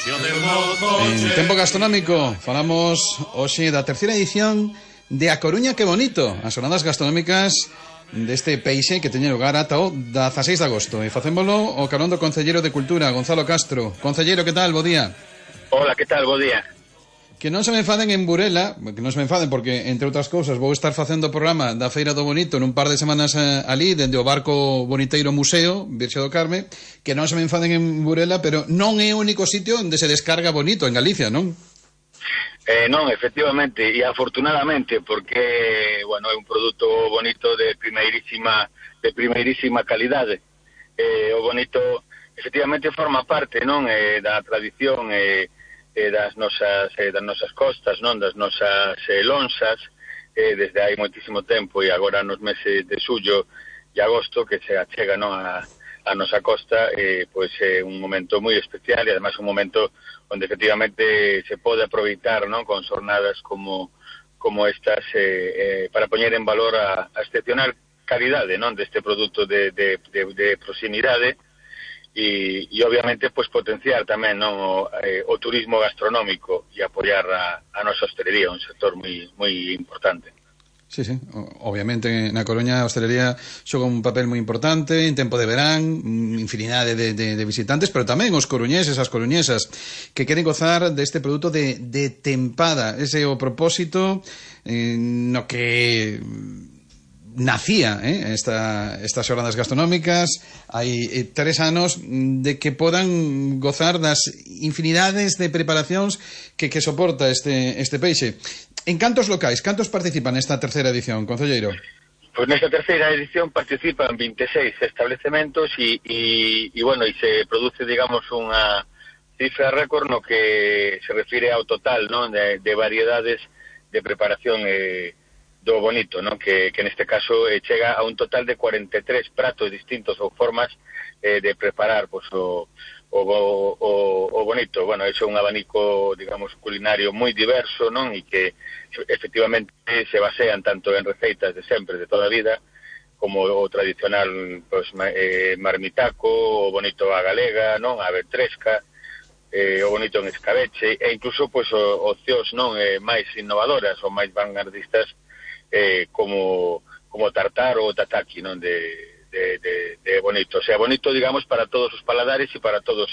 En Tempo Gastronómico falamos hoxe da terceira edición de A Coruña que bonito, as jornadas gastronómicas deste peixe que teñen lugar ata o 16 de agosto. E facémolo o carón do concelleiro de Cultura, Gonzalo Castro. Concelleiro, que tal? Bo día. Hola, que tal? Bo día. Que non se me enfaden en Burela, que non se me enfaden porque, entre outras cousas, vou estar facendo o programa da Feira do Bonito nun par de semanas ali, dende o barco Boniteiro Museo, Virxe do Carme, que non se me enfaden en Burela, pero non é o único sitio onde se descarga bonito en Galicia, non? Non, efectivamente, e afortunadamente, porque, bueno, é un produto bonito de primeirísima calidade. O bonito, efectivamente, forma parte, non, da tradición das nosas costas, non, das nosas lonxas, desde hai moitísimo tempo, e agora nos meses de xullo e agosto que se achega, non, a nosa costa, pois é un momento moi especial e ademais un momento onde efectivamente se pode aproveitar, non, con xornadas como estas para poñer en valor a excepcional calidade, non, deste produto de proximidade e obviamente pois potenciar tamén, non, o turismo gastronómico e apoiar a nosa hostelería, un sector moi importante. Sí, obviamente na Coruña a hostelería xoga un papel moi importante en tempo de verán, infinidade de visitantes, pero tamén os coruñeses, as coruñesas que queren gozar deste produto de tempada. Ese é o propósito no que nacía estas xornadas gastronómicas hai 3 anos de que podan gozar das infinidades de preparacións que soporta este peixe. En cantos locais, cantos participan nesta terceira edición, concelleiro? Pois nesta terceira edición participan 26 establecementos e bueno, e se produce, digamos, unha cifra récord no que se refire ao total, non, de variedades de preparación do bonito, non, que neste caso chega a un total de 43 pratos distintos ou formas de preparar pois o bonito. Bueno, é un abanico, digamos, culinario moi diverso, non, e que efectivamente se basean tanto en receitas de sempre, de toda a vida, como o tradicional pois, marmitaco, o bonito a galega, non, a ventresca, o bonito en escabeche, e incluso pois opcións, non, máis innovadoras ou máis vanguardistas como tartar ou tataki, non, de bonito. O sea, bonito, digamos, para todos os paladares e para todos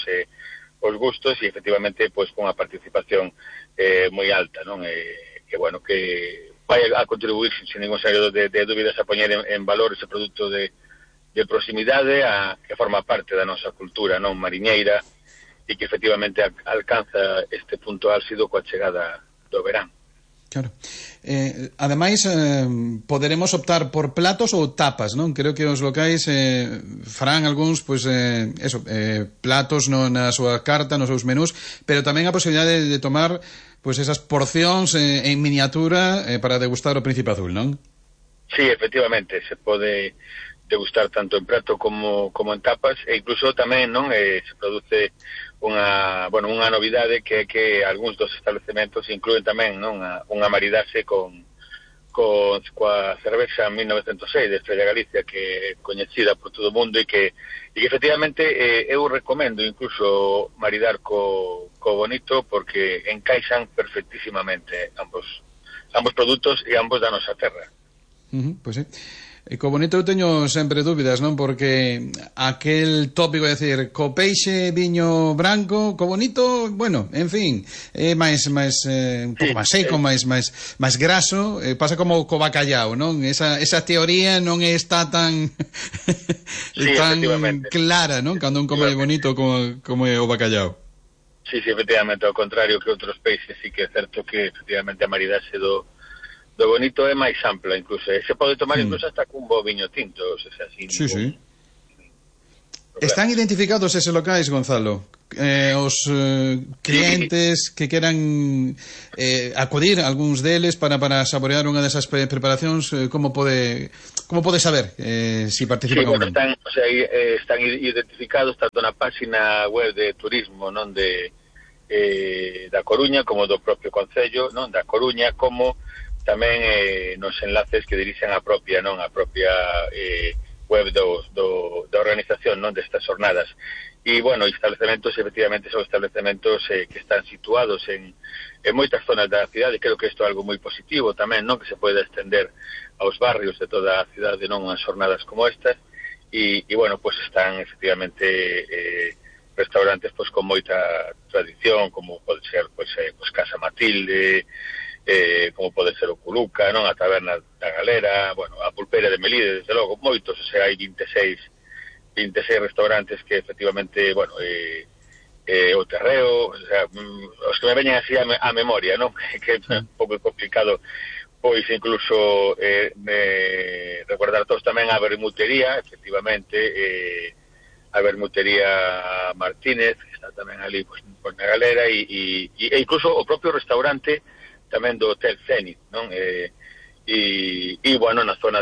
os gustos, e efectivamente pois con a participación moi alta, non, que bueno, que vai a contribuir sin ningún sentido de dúbidas a poñer en valor ese produto de proximidade que forma parte da nosa cultura, non, mariñeira, e que efectivamente alcanza este punto álxido coa chegada do verán. Claro. Ademais, poderemos optar por platos ou tapas, non? Creo que os locais farán algúns, pois, platos na súa carta, nos seus menús, pero tamén a posibilidade de tomar, pois, esas porcións en miniatura para degustar o Príncipe Azul, non? Sí, efectivamente, se pode degustar tanto en prato como en tapas, e incluso tamén, non, se produce unha novidade que algúns dos establecementos incluen tamén, non, unha maridarse coa cervexa 1906 de Estrella Galicia, que é coñecida por todo o mundo e que efectivamente eu recomendo incluso maridar co bonito, porque encaixan perfectísimamente ambos produtos e ambos da nosa terra. Pois sí. E co bonito eu teño sempre dúbidas, non? Porque aquel tópico de decir co peixe viño branco, co bonito, bueno, en fin, é máis un pouco máis seco, máis graso, pasa como co bacallao, non? Esa teoría non está tan tan clara, non? Cando un come bonito como é o bacallao. Sí, efectivamente, ao contrario que outros peixes, sí que é certo que efectivamente a maridarse do bonito é máis ampla, incluso. Se pode tomar incluso hasta cun bo viño tinto, o sea, así. Sí. Están identificados eses locais, Gonzalo? Os clientes que queran acudir, algúns deles, para saborear unha desas preparacións, como pode saber si participan ou non? Están identificados tanto na página web de turismo, non, da Coruña, como do propio concello, non, da Coruña, como tamén nos enlaces que dirixen a propia web da organización, non, destas jornadas. e bueno, establecementos efectivamente son establecementos que están situados en moitas zonas da cidade. Creo que isto é algo moi positivo tamén, non, que se pode extender aos barrios de toda a cidade, non, as jornadas como estas, e bueno, pues están efectivamente restaurantes pues con moita tradición, como pode ser pues Casa Matilde, como pode ser o Culuca, non, a Taberna da Galera, bueno, a Pulpeira de Melide, desde logo, moitos, o sea, hai 26 restaurantes que efectivamente, bueno, o Terreo, o sea, os que me veñen así a memoria, non, que é un pouco complicado, pois incluso recordar todos tamén a Bermutería, efectivamente, a Bermutería Martínez, que está tamén ali pues, na Galera, e incluso o propio restaurante tamén do Hotel Zenit, non? E bueno, na zona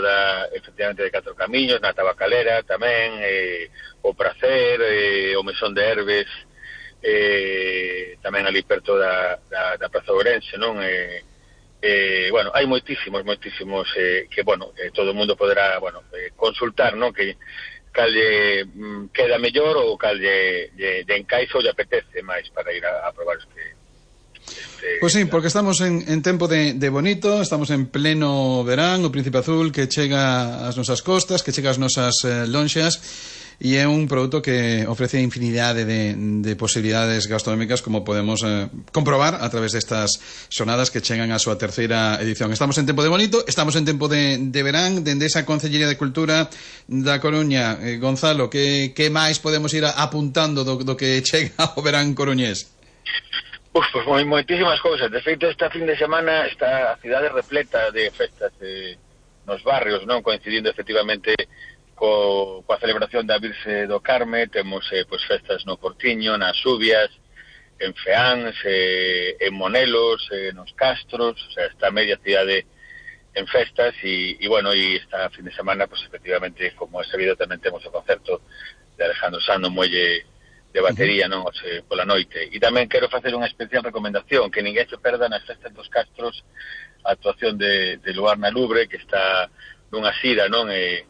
efectivamente de Catro Camiños, na Tabacalera tamén, o Pracer, o Mesón de Herbes, tamén ali perto da Praza Ourense, non? Bueno, hai moitísimos que, bueno, todo o mundo poderá, bueno, consultar, non? Que cal queda mellor ou cal lle encaixa ou lle apetece máis para ir a probar Pois sí, porque estamos en tempo de bonito, estamos en pleno verán, o Príncipe Azul que chega ás nosas costas, que chega ás nosas lonxas, e é un produto que ofrece infinidade de posibilidades gastronómicas, como podemos comprobar a través destas xornadas que chegan á súa terceira edición. Estamos en tempo de bonito, estamos en tempo de verán, dende esa Concellería de Cultura da Coruña. Gonzalo, que máis podemos ir apuntando do que chega ao verán coruñés? Pois moitísimas cousas. De feito, esta fin de semana está a cidade repleta de festas nos barrios, non, coincidindo efectivamente coa celebración da Virxe do Carme. Temos pues, festas no Portiño, nas Subias, en Feáns, en Monelos, nos Castros, o sea, está media cidade en festas e bueno, e esta fin de semana, pues efectivamente, como é sabido, tamén temos o concerto de Alejandro Sanz no muelle de batería, non, pola noite. E tamén quero facer unha especial recomendación, que ninguén se perda nas festas dos Castros a actuación de Luar na Lubre, que está nunha xira, non, de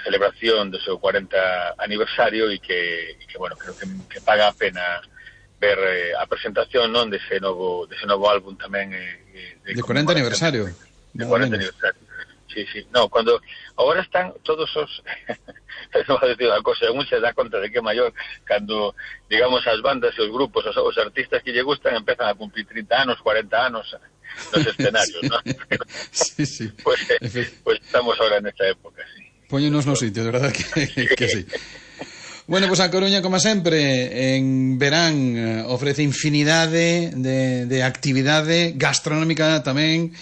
celebración do seu 40 aniversario e que bueno, creo que paga a pena ver a presentación, non, dese novo álbum tamén de 40 aniversario. De 40 aniversario. Sí. No, cuando agora están todos os non vou decir unha cosa, un se dá conta de que é maior cando, digamos, as bandas e os grupos, os artistas que lle gustan empezan a cumplir 30 anos, 40 anos nos escenarios, ¿no? Sí. Pues estamos ahora en esta época, sí. Póñenos no sitio, de verdad que sí. Bueno, pues a Coruña, como sempre, en verán ofrece infinidade de actividade gastronómica tamén,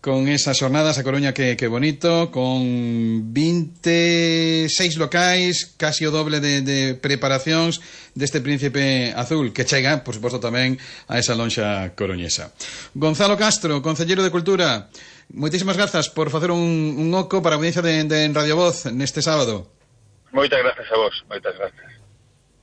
con esas xornadas a Coruña que bonito, con 26 locais, casi o doble de preparacións deste Príncipe Azul, que chega, por suposto, tamén a esa lonxa coruñesa. Gonzalo Castro, Concelleiro de Cultura, moitísimas grazas por facer un oco para a audiencia de Radio Voz neste sábado. Moitas grazas a vos, moitas grazas.